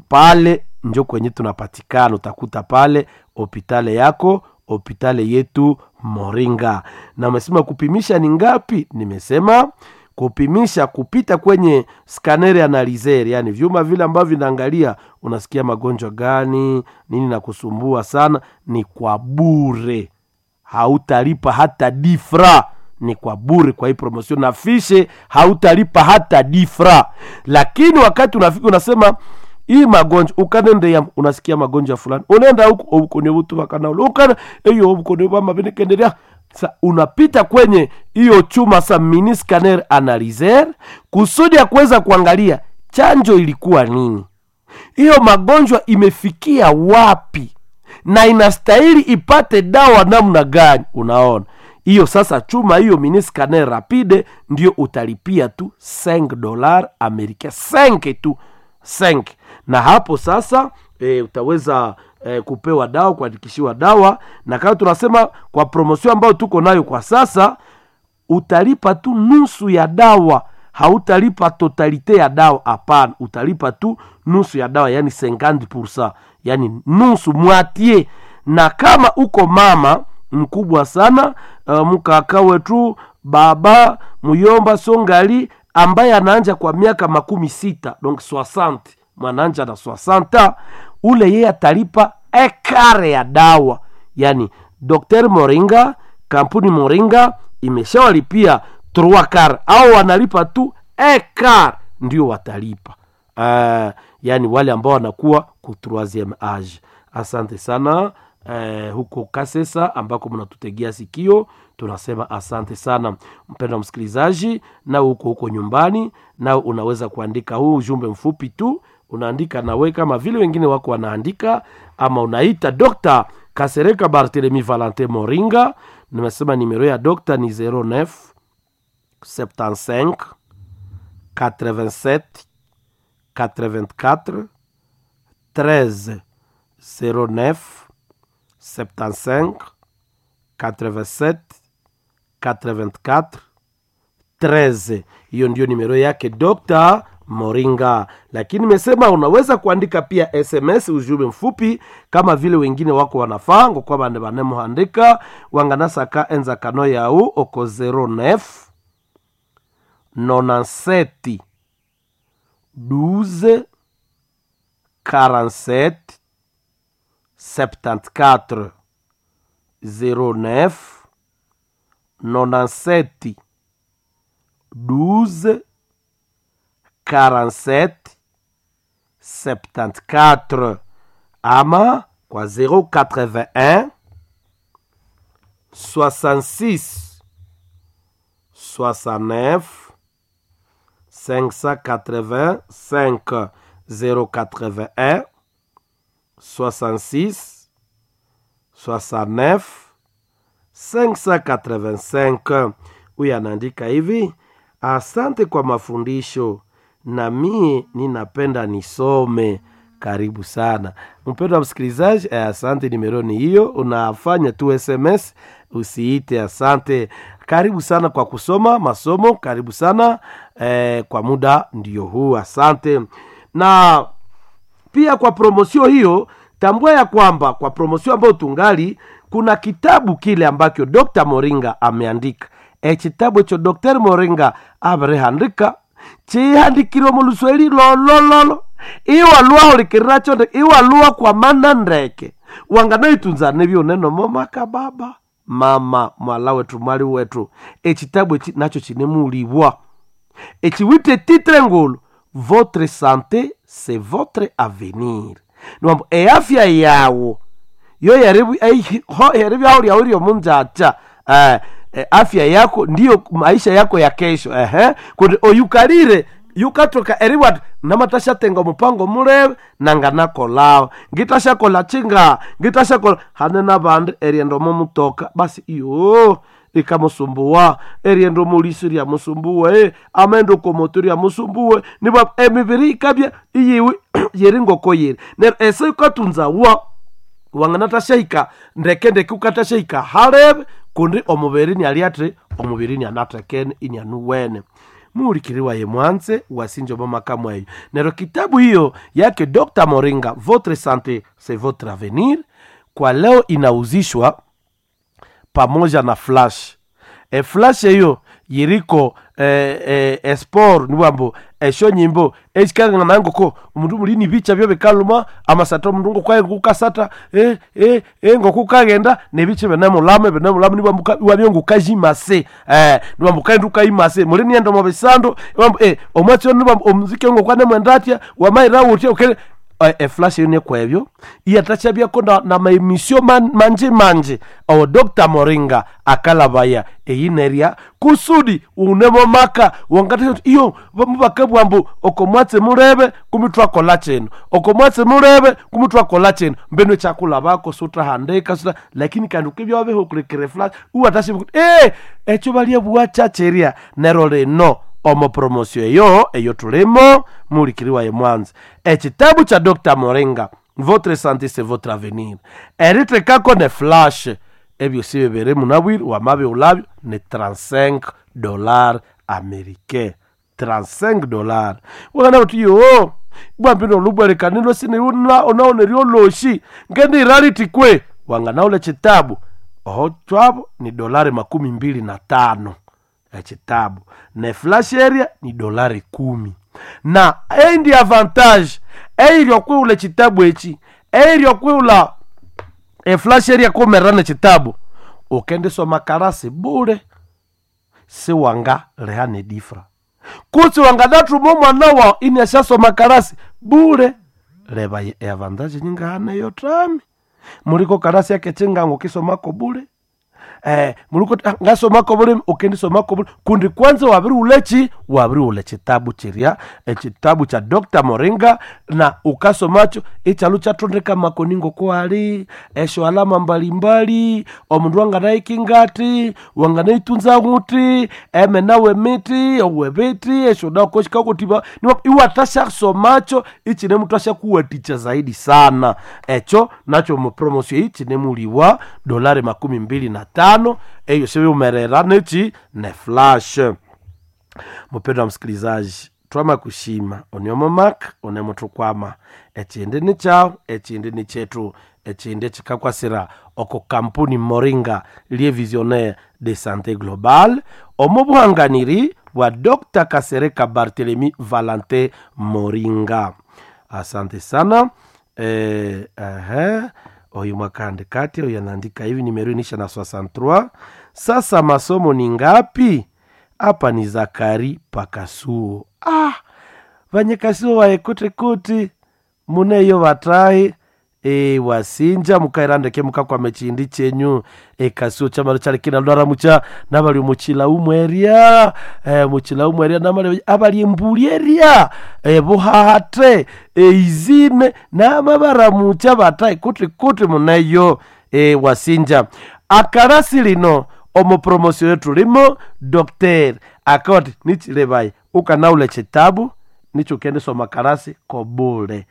pale njo kwenye tunapatikana. Utakuta pale hopitale yako, hopitale yetu Moringa. Na umesema kupimisha ni ngapi? Nimesema kupimisha kupita kwenye scanner analyzer, yani vyuma vile ambavyo vinaangalia unasikia magonjwa gani nini na kusumbua sana, ni kwa bure, hautalipa hata difra, ni kwa bure kwa hii promotion na fishe, hautalipa hata difra. Lakini wakati unafika unasema hii magonjwa ukanende ya unasikia magonjwa fulani, unaenda huku obukoni butu bakana ukana eyo obukoni bwa mabenekendelea. Sa unapita kwenye hiyo chuma sa mini scanner analyzer kusudi ya kuweza kuangalia chanjo ilikuwa nini, hiyo magonjwa imefikia wapi na inastahili ipate dawa namna gani. Unaona hiyo sasa, chuma hiyo mini scanner rapide ndio utalipia tu $5 americain, 5 tu 5, na hapo sasa utaweza kupewa dawa, kuandikishiwa dawa. Na kama tunasema kwa promotion ambayo tuko nayo kwa sasa, utalipa tu nusu ya dawa, hautalipa totalite ya dawa. Hapana, utalipa tu nusu ya dawa, yani 50%, yani nusu mwatie. Na kama uko mama mkubwa sana mkaka wetu baba muyomba songali ambaye anaanja kwa miaka 60, donc 60, mwananja na 60, ule yeye atalipa ekare ya dawa, yani Dr. Moringa, kampuni Moringa imeshawalipia trois quart au wanalipa tu ekar ndio watalipa. Yani wale ambao wanakuwa ku troisieme age. Asante sana huko Kasesa ambako mnatutegea sikio, tunasema asante sana mpendwa msikilizaji, na huko huko nyumbani, na unaweza kuandika huu ujumbe mfupi tu, unaandika nawe kama vile wengine wako wanaandika, ama unaita Dr. Kasereka Barthelemy Valentin Moringa. Nimesema nimero ya dokta ni 09 75 87 84 13 09 75 87 84 13. Hiyo ndiyo nimero yake Dr. Moringa, lakini nimesema unaweza kuandika pia SMS, ujumbe mfupi kama vile wengine wako wanafaa ngokuwa bande banemuhandika wanganasaka enzakano yau oko 09 97 12 47 74 09 97 12 47 74 ama kwa 081 66 69 585 081 66 69 585. Huyu anaandika hivi: asante kwa mafundisho, na mie ninapenda nisome. Karibu sana mpendwa msikilizaji. Asante, nimero ni hiyo, unafanya tu SMS usiite. Asante, karibu sana kwa kusoma masomo, karibu sana kwa muda ndio huu, asante. Na pia kwa promosio hiyo, tambua ya kwamba kwa promosio ambayo tungali kuna kitabu kile ambacho Dr. Moringa ameandika. Ekitabu ekyo Dr. Moringa abirehandika chihandikirwe mu lusweli lolololo iwalua hulikiriracho iwalua kwa mana ndeke wanganaitunzane byoneno momaka baba mama mwala wetu mwali wetu. Ekitabu eki nacho chinemulibwa echiwite titre ngulu votre santé c'est votre avenir, niwambo eafya yawo yo yeribyaho lyawo lyomunjacha afya yako ndiyo maisha yako ya kesho. Ehe, kundi oyukalire yukatoka eribwa namatashatenga omupango mulebe nanganakolao ngitashakola chinga ngitashakola hane nabandi erienda omo mutoka basi iyo ikamusumbuwa erienda omulisi lyamusumbuwe amenda okomoto lyamusumbuwe nibwa emibiri ikabya iyiwe yeri ngoko yeri neryo ese yukatunzawa wanganatashahika ndekendeke ukatashahika halebe kundi omubiri niali omubiri nianatekene inianuwene muulikiriwa ye mwanze wasinje mama eyo. Nero kitabu hiyo yake Dr. Moringa, votre sante c'est votre avenir, kwa leo inauzishwa pamoja na flash. Flash eyo yiriko esport niwambo esho nyimbo echikangana nangoko omundu mulini bicha byo bikaluma amasata omundu ngokwaye kukasata ngokukagenda nebicha benemulama benemulama niwambo wabyo ngukajimase niwambo kaenda ukayimase mulini enda mu bisando niwambo omwatsi niwambo omuziki ngokwane mwendatya wamaira utya ukele eflash eyo nekwebyo iyatachabyako na, na maemisio manje manje awo Dr. Moringa akalabaya eyinerya kusudi unemo maka wangati iyo mubakabwambu okomwatse mulebe kumitwakola chino okomwatse mulebe kumitwakola chino mbeno chakulabako sutahandika suta lakini kandi ukibya wabehukulikire flash uwatashi ekyo balya bwachacherya nero lino omo promosio eyo eyo tulimo mulikiriwa ye mwanza ekitabu cha Dr. Moringa votre santé c'est votre avenir eritekako ne flash ebyo si bibiri munabwire wamabi ulabyo ni $35 américain $35 wakana uti yo bwambino olubwelekanilo siniuna onaoneryo loshi ngende iraliti kwe wanganaule chitabu oho twabo ni $25 ekitabu ne flash area ni $10 na endi avantage eiryo kwiula chitabu echi eiryo kwiula Eflash eryakumerera nekitabu ukendisoma karasi bule, siwanga leha nedifra kutsi wanganathuma omwana wawu iniasyasoma karasi bule. Leba eavantage nyingahana tami muliko karasi akechingango ukisomako bule, muliko ngasomako bule ukendisomako bule kundi kwanza wabiriwuleki wabiriwula ekitabu kirya ekitabu kya Dr. Moringa na ukasomakyo ikyalhu kyathondeka makoni ngoko ali esyo alama mbalimbali omundu wanganayikingati wanganayitunza ghuti emena wemiti owebiti esyo dawa shikakotiba iwathasyasomakyo ikinemuthu zaidi sana. Ekyo nakyo omu promotion eyi kinemuliwa dolari 25 eyo sibiwumerera neki ne flash. Mupendwa msikilizaji, twama kushima oneomomak onemuthukwama ekindi ni kyawu ekindi ni kyetu ekindi kikakwasira oko kampuni Moringa lie visionnaire de santé globale omu buhanganiri bwa Dr. Kasereka Barthelemy Valentin Moringa. Asante sana. Oyu mwakaandika ati oyu anaandika hivi nimero inisha na 63. Sasa masomo ni ngapi? Hapa ni Zakari Pakasuo. Vanyekasuo waekutikuti muneyo vatahi wasinja mukairandeke mukakwama chindi chenyu ekasuo chamalo chali kinalwara mucha nabali muchila umweria muchila umweria namali abali embuli eria buhahate eizine namabara mucha batahi kuti kuti muneyo wasinja akarasi lino omu promosio yetu limo Dr. akoti nichilevayi ukanaula chitabu nicho ukendesoma karasi kobule.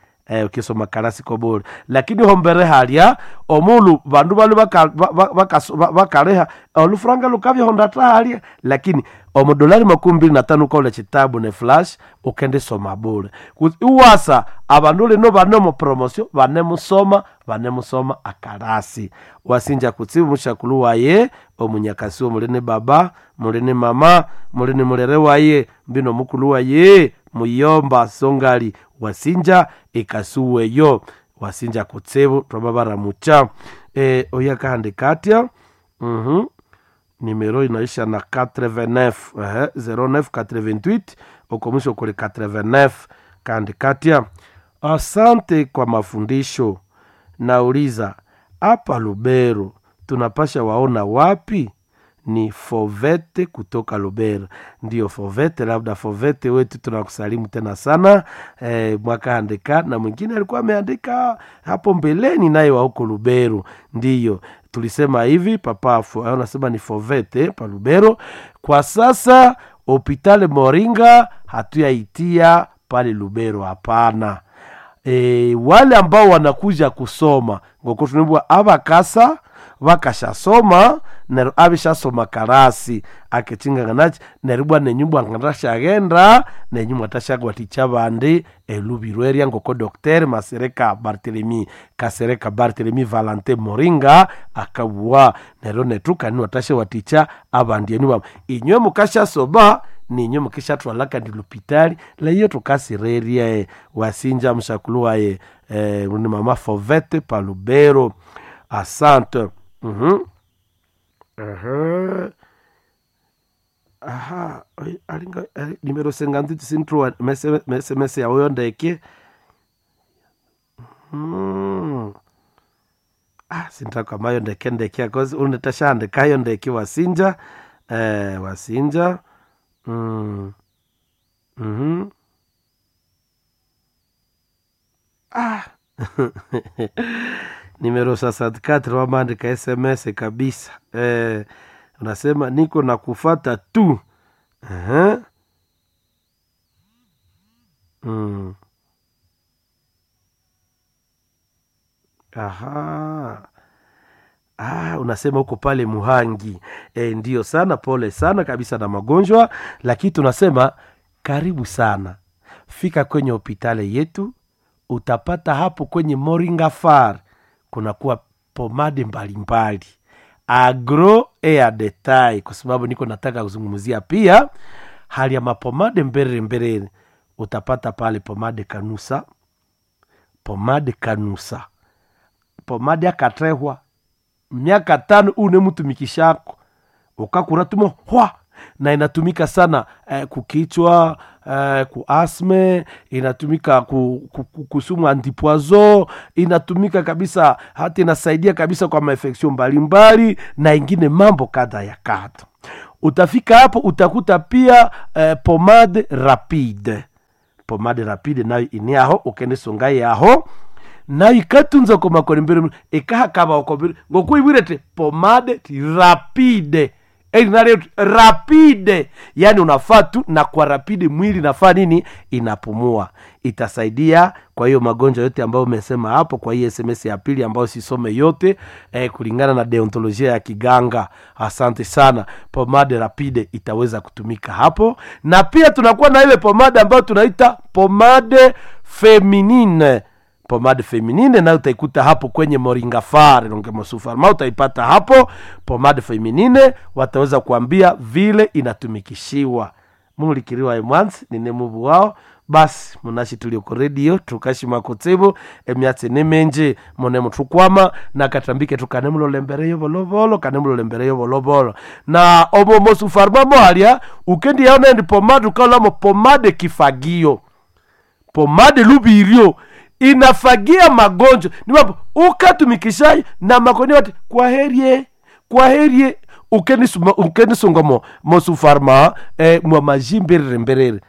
Ukisoma karasi kobule lakini hombere halya omulu bandu balu bakaleha olufuranga lukavya hondata halya lakini omu dolari 25 ukaula chitabu ne flash ukendesoma bule. Iwasa abandu lino bane mu promosio banemusoma banemusoma akarasi wasinja kutsibu mushakulu waye omunyakasi mulini baba mulini mama mulini mulere waye mbino mukulu waye muyomba songali wasinja ikasuweyo wasinja kutsibu twababaramucha. Oyo akahandika atya nimero inaisha na 89 0988 uko mwisho kuli 89 kaandika atya asante kwa mafundisho. Nauliza hapa Lubero tunapasha waona wapi? Ni Fovete kutoka Lubero. Ndiyo Fovete, labda Fovete wetu tunakusalimu tena sana. Mwaka andika na mwingine alikuwa ameandika hapo mbeleni naye wa huko Lubero. Ndiyo tulisema hivi papa anasema ni Fovete pa Lubero. Kwa sasa hopitale Moringa hatuyaitia pale Lubero, hapana. Wale ambao wanakuja kusoma ngoko tunibwa abakasa bakashasoma neryo abishasoma karasi akechinganganachi neryo bwa nenyu bwa ngandashagenda nenyu mwatashagwaticha bandi elubiro erya ngoko Dr. Masereka Barthelemy Kasereka Barthelemy Valentin Moringa akabwa neryo netu kani watashewaticha abandi enu bamwe inywe mukashasoma ninyo mukishathwala kandi lupitali leyo tukasirerye wasinja mshakulu waye ni mama Fovete Palubero. Asante. Aha, alinga nimero 58 sintrua mese yawo ndeke. Sintakamayo ndeke ndeke akozi unetashandikayo ndeke wasinja wasinja. Nimero 64 wamaandika SMS kabisa. Unasema niko na kufata tu. Aha. Unasema huko pale Muhangi. Ndiyo sana, pole sana kabisa na magonjwa, lakini tunasema karibu sana. Fika kwenye hopitali yetu, utapata hapo kwenye Moringa Far kunakuwa pomade mbalimbali agro air detail, kwa sababu niko nataka kuzungumzia pia hali ya mapomade mbere mbere. Utapata pale pomade kanusa, pomade kanusa, Pomade akatehwa miaka 5 unemutumikishako ukakura tumo hwa, na inatumika sana kukichwa, ku asme, inatumika kusumu antipoison, inatumika kabisa, hata inasaidia kabisa kwa maefeksio mbalimbali na ingine mambo kadha ya kadha. Utafika hapo utakuta pia pomade rapide. Pomade rapide nayo ini aho ukende songa yaho nayo ikatunza komakore mbere ikahakaba okombere ngokuibwirete pomade ti rapide erinaleo rapide, yani unafaa tu na kwa rapide mwili nafaa nini inapumua, itasaidia kwa hiyo magonjwa yote ambayo umesema hapo kwa hii SMS ya pili ambayo sisome yote kulingana na deontolojia ya kiganga. Asante sana. Pomade rapide itaweza kutumika hapo, na pia tunakuwa na ile pomade ambayo tunaita pomade feminine. Pomade feminine nayo utaikuta hapo kwenye Moringa Far Longemosufarma, utaipata hapo pomade feminine, wataweza kuambia vile inatumikishiwa. Mulikiriwa emwanzi nine mubu wao basi munashi tulioko redio tukashima kutsibu emyatsi ni minji mune muthukwama na katambike tukanemulolembereyo volovolo kanemulolembereyo volovolo na omo mosufarma mohalya ukendi yaona ndi pomade ukaolamo pomade kifagio pomade lubiryo inafagia magonjwa ni mambo ukatumikishayo na makoni wati kwaherie kwaherie ukenisunga mo mosufarma mwa maji mberere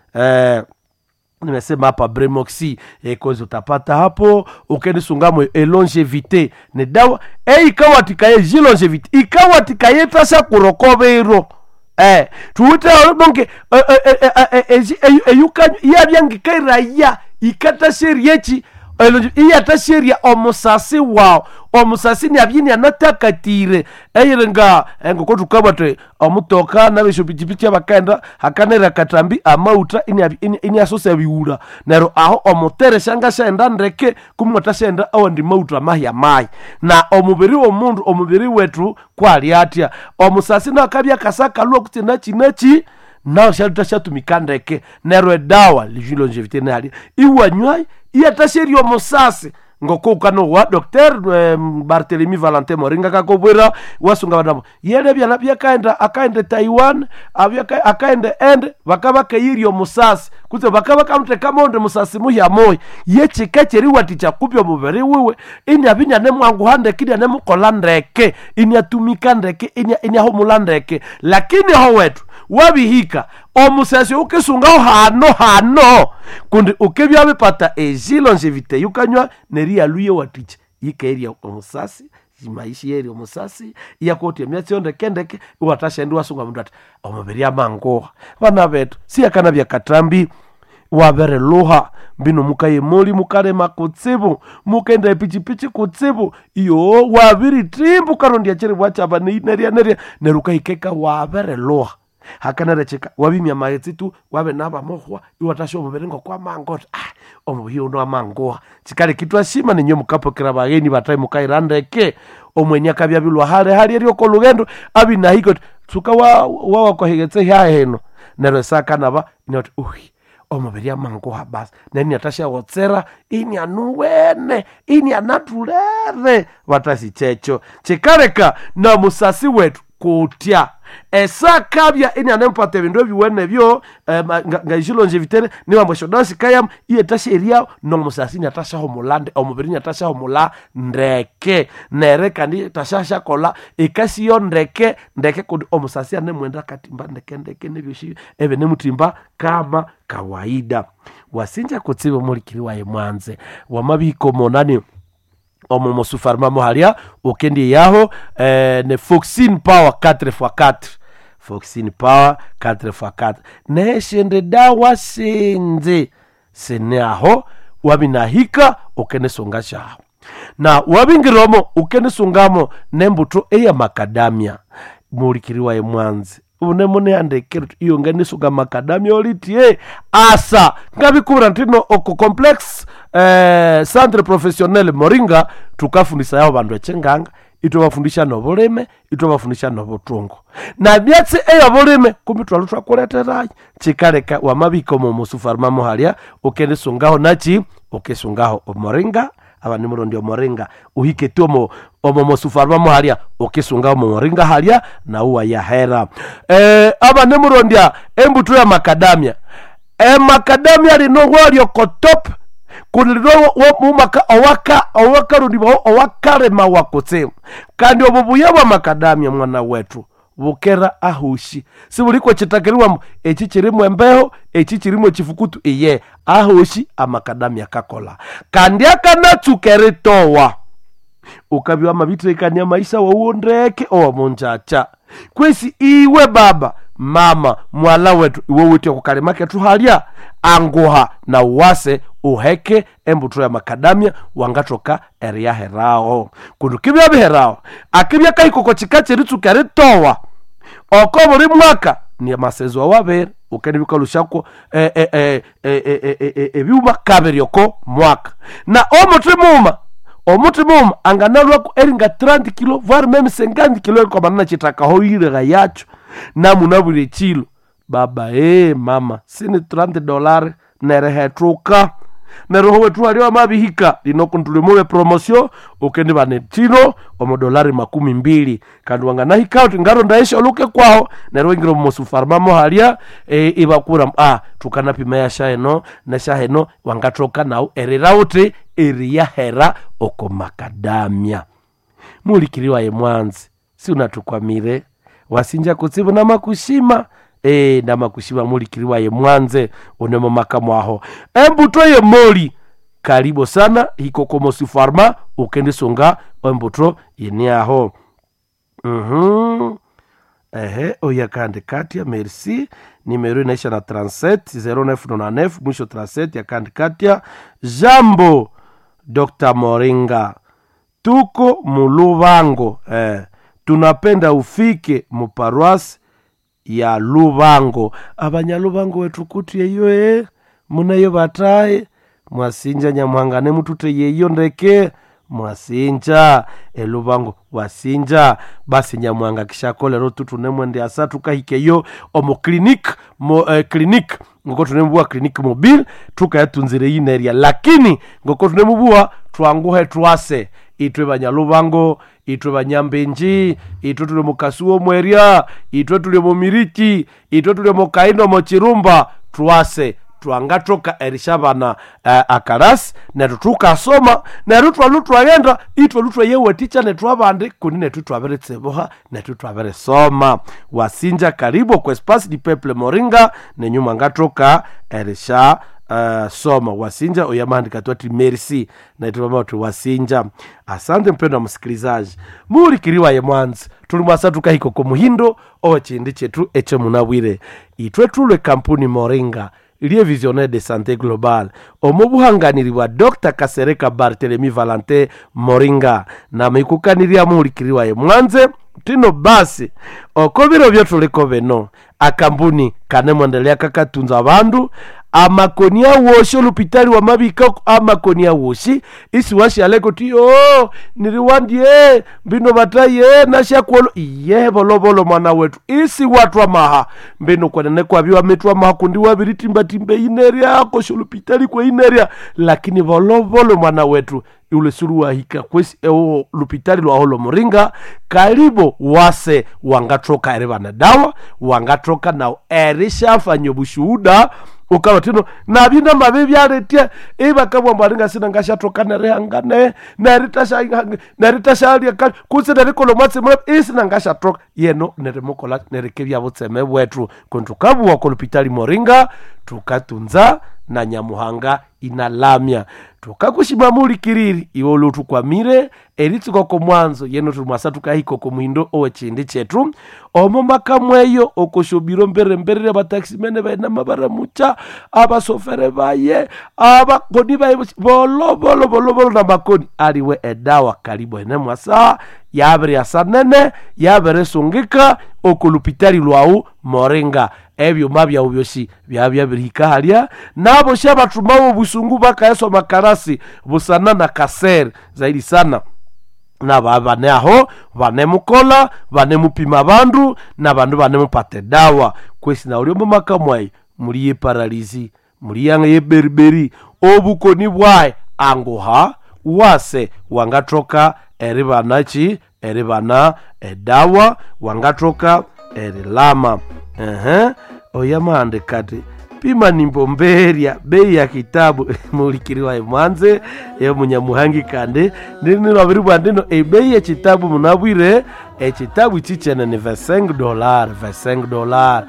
nimesema hapa bremoxi kozi utapata hapo ukenisungamo elongevité ni dawa ikawatikaye jilongevité ikawatikaye tasha kurokobero tuwite donke eyukanyu yabyangikairaya ikatasheriechi iyatasheria omusasi wawu omusasi niabyini anatakatire eyiringa engoko tukabwate omutoka nabeshopichipichi abakaenda hakanera katambi amauta iniasosa biwula neryo aho omutere shangashaenda ndeke kumwatashaenda awandi mauta mahya mayi na omubiri womundu omubiri wetu kwali atya omusasi nakabya kasakalwa kutse nachinachi nawo shatumika ndeke neryo edawa longevité nali iwanywai iyatasheria omusasi ngoko wa Dr. Barthélemy Valentin Moringa kakobwera wasunga banamo yele byana byakaenda akaenda Taiwan abyaka akaenda ende bakaba kayiri omusasi kutse bakaba kamuteka monde musasi muhya moyi yechika cheriwaticha kupya omubiri wiwe inya binya nemwanguha ndeke inya nemukola ndeke inyatumika ndeke inyahumula ndeke lakini ho wetu wabihika omusasi ukisungaho hano hano kundi ukibya bipata eji longevité yukanywa neriyaluye waticha yikeerya omusasi maishi yeri omusasi iyakotya emyatsi yo ndeke ndeke iwatashaenda iwasunga mundu ati omubiri amanguha bana betu siyakana byakatambi wabereluha mbino mukayemoli mukalema kutsibu mukenda epichipichi kutsibu iyo wabiritimbu karondya chiribwa chaba nerya nerya neryo ukahikeka wabereluha hakanarecheka wabimya maghetse tu wabe nabamuhwa iwatasha omubiri ngokwamango oti omubiri uno amanguha chikali kitwashima ninyo mukapokera bagheni batai mukaira ndeke omweni akabya hale hali eryoko lugendo abinahika oti tsuka wawakohegetse hyaheno neryo esakanaba inoti uhi omubiri amanguha basi neniatashawotsera inianuwene inianatulere batasi checho chikaleka na musasi wetu kutya esakabya inianempata ebindu ebiwene byo ngaishilonjevitere niwambo esyodawa sikayam iyetasha nomusasi iniatashahumula omubiri iniatashahumula ndeke nere kandi tashashakola ikasiyo ndeke ndeke kundi omusasi anemwenda katimba ndeke ndeke nebyoshi ebinemutimba kama kawaida wasinja kutsiba mulikiri waye mwanze wamabiko monani omo mosufarma mohalya ukendi yaho ne foxin power 4x4 foxin power 4x4 neshende dawa sinze sine aho wabinahika ukenesunga shaho na wabingiromo ukenesungamo nembuto eya makadamia mulikiri waye mwanzi une muneandekere iyo nganisuka makadamia olitie asa ngabikubira ntino oko complex centre professionnel Moringa tukafundisa yao bandu echenganga itwabafundisha nobulime itwabafundisha nobutungo na myatsi eyobulime kumbi twali twakuleterayo chikaleka wamabika omo musufarma muhalya ukendisungaho nachi ukisungaho omoringa. Abanimurondya omoringa uhike tu omo omo mosufarma halia ukisunga omo moringa halia na uwa yahera. Abanimurondya embuto ya makadamia, emakadamia lino walyo kotop kulino mumaka owaka owakarundibwa owakalema wakutsimu. Kandi obubuya bwa makadamia mwana wetu bukera ahushi sibuliko chitakiriwa echi chirimu embeho echi chirimu echifukutu iye ahushi amakadamia kakola kandi akanatsuka eritowa ukabya mabitrekania maisha wawuo ndeke owamunjacha kwesi iwe baba mama mwala wetu iwe witye kukalima kethu halya anguha na uwase uheke embuto ya makadamia wangathoka eriyaherawo kundu kibya biherawo akibya kahikoko chika cheritsuka eritowa oko buli mwaka ni amasezo awabere ukenibikalushako ebyuma kabiri oko mwaka na omuthi muma omuthi muma anganalwako eringa 30 kilo voire meme 50 kilo erikwamana chitakaho irega yacho namunabwire chilo baba mama sini $30 nerehethuka neroho wetu walio amabihika lino kuntulimuwe promosio ukendi bane chino omodolari 20 kandi wanganahika uti ngaronda esho oluke kwaho nero ingira omusufarma halia ibakura tukanapima ya shaeno na shaheno wangathoka nawu erira uti eriyahera oko makadamia mulikiriwa ye mwanzi si unatukwamire wasinja kutsibu namakushima namakushima mulikiriwa ye mwanze unemo makamu aho embuto ye moli karibu sana hikokomosi farma ukendisunga embuto yene aho. Ehe oya kandi katia merci nimero inaisha na 37 0999 mwisho 37 ya kandi katia. Jambo Dr. Moringa, tuko mulubango tunapenda ufike muparuasi ya Lubango. Abanyalubango wetu kuti eyo munayo bataye mwasinja nyamuhanga mutute yeyo ndeke mwasinja elubango wasinja basi nyamuhanga kishakolero tutunemwende asa tukahikeyo omo clinic mo, clinic ngoko tunemubua clinic mobile tukayatunzire yineria lakini ngoko tunemubua twanguhe twase itwe banyalubango itwe banyambenji itwe tuli mukasuo mweria itwe tuli mumiriki itwe tuli mukaindo mochirumba twase twangathoka erishabana akarasi neryo thukasoma neryo thwalhu twaghenda ithwalhu twayewathikya nethu abandi kundi nethu thwabiritsibuha nethu thwabirisoma. Wasinja karibu kwa Espace du Peuple Moringa nenyu mwangathoka erisha soma. Wasinja oyamahandika twati merci naithu mama wasinja. Asante mpendwa msikilizaji mulikiriwa ye mwanzi tuli mwasa tukahika ko muhindo owechindi chetu eche munabwire itwe tulwe kampuni Moringa lie visionnaire de santé globale omo buhanganiri bwa Dr. Kasereka Barthelemy Valentin Moringa namikukanirya muhulikiriwa ye mwanze tino basi oko biro byotuliko bino akambuni kanemwendelea kakatunza abandu amakoni awoshi olupitali wamabika amakoni awoshi isi washaleko ti o niriwandie mbino bataye nashakuolo iye bolovolo mwana wetu isi watwa maha mbino kwenene kwabiwa mitwa maha kundi wabiritimbatimba ineria kosho olupitali kwa ineria lakini bolovolo mwana wetu ule suru wahika kwesi ewo lupitali lwaho lomuringa karibu wase wangathoka eri bana dawa wangathoka nawo erishafanya obushuhuda ukalwa tino nabina mabi byaletya ibakabwa mbalinga sina ngashathoka nerihangane neritashalya kutse nerikola omwatsi mulevu isina ngashathoka yeno nerimukola nerikebya butseme bwethu kundi thukabuwa kolupitali Moringa thukatunza na nyamuhanga inalamya tukakushima mulikiriri iwe oluthukwamire eritsuka ko mwanzo yeno thuli tukahika oko muhindo owechindi chethu omo makamweyo okoshobiro mberemberere abataximene bainama baramucha abasofere baye abakoni baye bolovolo bolovolo na makoni aliwe edawa karibu ene mwasa yabiryasa nene yabirisungika okolupitali lwawu Moringa ebyuma byawu byosi byabyabirihika halya nabo syabathumawo obusungu bakayaswa makarasi busana na kasere zaidi sana naba bane aho banemukola banemupima bandu na bandu banemupata dawa kwesi na uliomo makamwayi muli yeparalizi muli yanga yeberiberi obukoni bwaye anguha Wase wangathoka eribanachi eribana edawa, wangathoka erilama. Ehe, oyamahandika ati pima nimbomberya bei ya kitabu. Mulikiriwa emwanze yo munyamuhangi kandi ninilwabiribwa ndino ebei yekitabu. Munabwire ekitabu chichene ni $5, $5,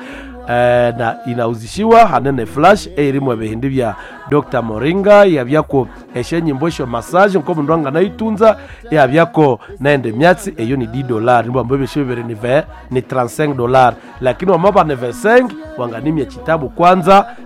na inauzishiwa hanene flash eirimu ebihindi bya Dr Moringa, yabyako esyenyimbo esyo massage nko mundu anganayitunza, yabyako naende myatsi eyo ni $10. Nibwambo ebyo bibiri ni ve ni $35, lakini wamaba ni 25 wanganimya kitabu kwanza.